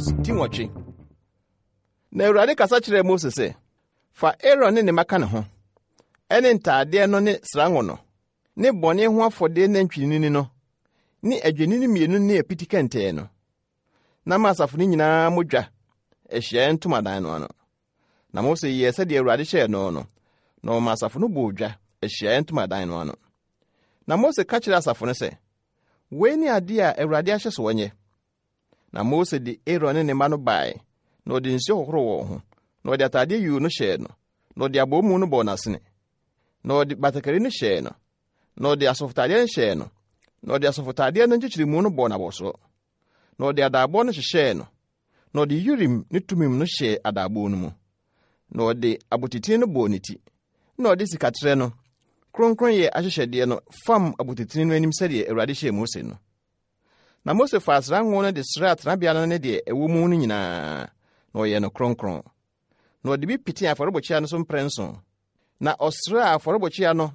Exodus ti 8. Na Awurade kasa kyerɛɛ Mose sɛ, Fa Aaron ne ne mma ka ne ho, ɛne ntaadeɛ no ne srango no, ne bɔne ho afɔdeɛ nantwinini no, ne adwennini mmienu ne apiti kɛntɛn no, na ma asafo no nyinaa mmɔ dwa ahyiaeɛ ntomadan no ano. Na Mose yɛɛ sɛdeɛ Awurade hyɛɛ no no, na ɔma asafo no bɔɔ dwa ahyiaeɛ ntomadan no ano. Na Mose ka kyerɛɛ asafo no sɛ, Wei ne adeɛ a Awurade ahyɛ sɛ wɔnyɛ. Na Mose de Aaron ne ne mma no bae, na ɔde nsuo hohoroo wɔn ho, na ɔde ataadeɛ yuu no hyɛɛ no, na ɔde abɔmu no bɔɔ n'asene, na ɔde batakari no hyɛɛ no, na ɔde asɔfotaadeɛ no hyɛɛ no, na ɔde asɔfotaadeɛ no nkyekyeremu no bɔɔ n'abɔsoɔ, na ɔde adaaboɔ no hyehyɛɛ no, na ɔde Urim ne Tumim no hyɛɛ adaaboɔ no mu, na ɔde abotitene no bɔɔ ne ti, na ɔde sikaterɛ no, kronkronyɛ ahyehyɛdeɛ no fam abotitene no anim sɛdeɛ Awurade hyɛɛ Mose no. Na Mose faa sra ngo no de sraa tenabea no ne deɛ ɛwɔ mu no nyinaa, na ɔyɛɛ no kronkron. Na ɔde bi petee afɔrebukyia no so mprɛnson. Na ɔsraa afɔrebukyia no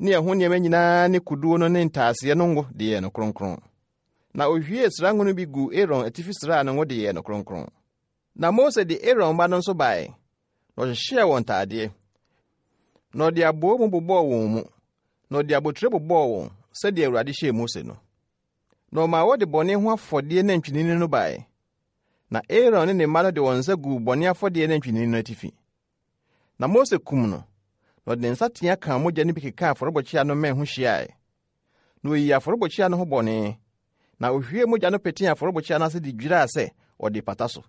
ne ɛho nneɛma nyinaa ne koduo no ne ntaaseɛ no ngo de yɛɛ no kronkron. Na ɔhwiee sra ngo no bi guu Aaron atifi sraa no ngo de yɛɛ no kronkron. Na Mose de Aaron mma no nso bae, na ɔhyehyɛɛ wɔn ntaadeɛ, na ɔde aboomu bobɔɔ wɔn mu, na ɔde abotire bobɔɔ wɔn sɛdeɛ Awurade hyɛɛ Mose no. Na ɔmaa wɔde bɔne ho afɔdeɛ nantwinini no bae, na Aaron ne ne mma no de wɔn nsa guu bɔne afɔdeɛ nantwinini no atifi. Na Mose kum no, na ɔde ne nsateaa kaa mogya no bi kekaa afɔrebukyia no mmɛn ho hyiae. Na oyii afɔrebukyia no ho bɔne, na ohwiee mogya no petee afɔrebukyia no ase de dwiraa sɛ ɔde pata so.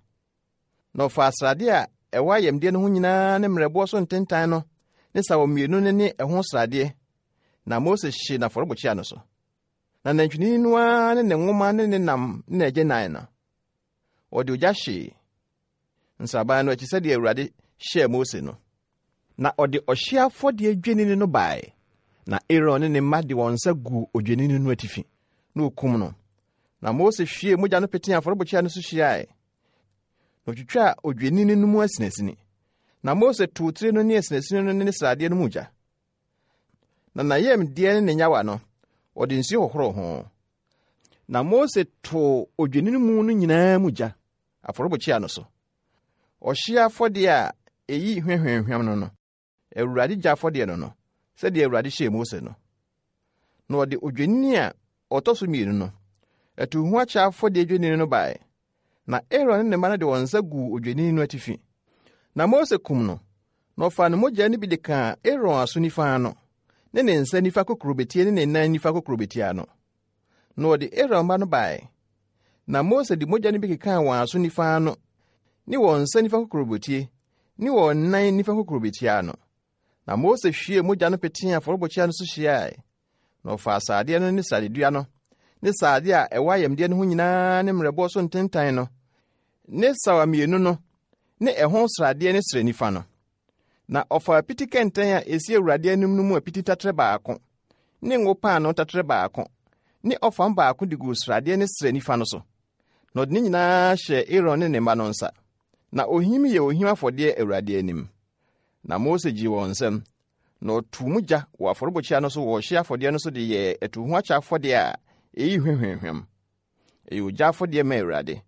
Na ɔfaa srade a ɛwɔ ayamdeɛ no ho nyinaa ne mmerɛboɔ so ntentan no ne sawa mmienu no ne ɛho sradeɛ, na Mose hyee no afɔrebukyia no so. Na nantwinini no ara ne ne nwoma ne ne nam ne n'agyanan no, ɔde ogya hyee nsraban no akyi sɛdeɛ Awurade hyɛɛ Mose no. Na ɔde ɔhyeɛ afɔdeɛ dwennini no bae, na Aaron ne ne mma de wɔn nsa guu odwennini no atifi, na wɔkum no. Na Mose hwiee mogya no petee afɔrebukyia no so hyiae, na ɔtwitwaa odwennini no mu asinasini. Na Mose too tire no ne asinasini no ne ne sradeɛ no mu gya. Na n'ayamdeɛ ne ne nyawa no, ɔde nsuo hohoroo ho. Na Mose too odwennini mu no nyinaa mu gya, afɔrebukyia no so. Ɔhyeɛ afɔdeɛ a ɛyi hwahwamhwam no no, Awurade gya afɔdeɛ no no, sɛdeɛ Awurade hyɛɛ Mose no. Na ɔde odwennini a ɔtɔ so mmienu no, atuhoakyɛ afɔdeɛ dwennini no bae. Na Aaron ne ne mma no de wɔn nsa guu odwennini no atifi. Na Mose kum no, na ɔfaa ne mogya no bi de kaa Aaron aso nifa ano, ne ne nsa nifa kokurobetie ne ne nan nifa kokurobetie ano. Na ɔde Aaron mma no bae. Na Mose de mogya no bi kekaa wɔn aso nifa ano, ne wɔn nsa nifa kokurobetie, ne wɔn nan nifa kokurobetie ano. Na Mose hwiee mogya no petee afɔrebukyia no so hyiae. Na ɔfaa sradeɛ no ne sradedua no, ne sradeɛ a ɛwɔ ayamdeɛ no ho nyinaa ne mmerɛboɔ so ntentan no, ne sawa mmienu no, ne ɛho sradeɛ ne srɛ nifa no. Na ɔfaa apiti kɛntɛn a ɛsi Awurade anim no mu apiti taterɛ baako, ne ngo paanoo taterɛ baako, ne ɔfam baako de guu sradeɛ ne srɛ nifa no so. Na ɔde ne nyinaa hyɛɛ Aaron ne ne mma no nsa. Na ohim yɛ ohim afɔdeɛ Awurade anim. Na Mose gyee wɔn nsam, na ɔtoo mu gya wɔ afɔrebukyia no so wɔ ɔhyeɛ afɔdeɛ no so de yɛɛ atuhoakyɛ afɔdeɛ a ɛyi hwa hwamhwam. Ɛyɛ ogya afɔdeɛ ma Awurade.